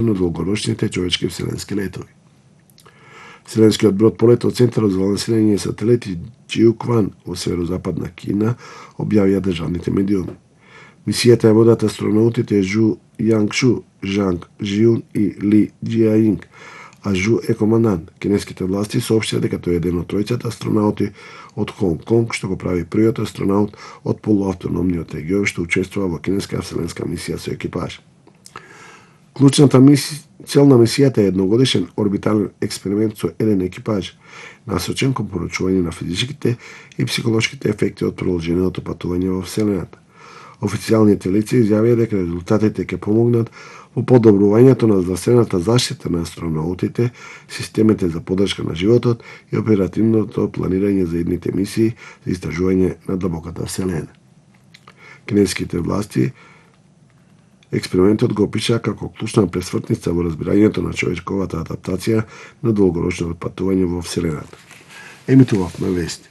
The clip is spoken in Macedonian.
на долгорочните човечки вселенски летови. Вселенскиот брод полета од Центарот за лансирање сателити Jiuquan во северозападна Кина објавија државните медиуми. Мисијата ја водат астронаутите Жу Јангшу, Жанг Жиун и Ли Џиаинг, а Жу е командант. Кинеските власти соопштија дека тој е еден од тројцата астронаути од Хонг Конг, што го прави првиот астронаут од полуавтономниот регион што учествува во кинеска вселенска мисија со екипаж. Клучната цел на мисијата е едногодишен орбитален експеримент со еден екипаж, насочен кон проучување на физичките и психолошките ефекти од продолженото патување во Вселената. Официјалните лица изјавија дека резултатите ќе помогнат во подобрувањето на здравствената заштита на астронаутите, системите за поддршка на животот и оперативното планирање за идните мисии за истражување на длабоката Вселена. Кинеските власти експериментот го опишаа како клучна пресвртница во разбирањето на човечковата адаптација на долгорочното патување во Вселената. Емитувавме вести.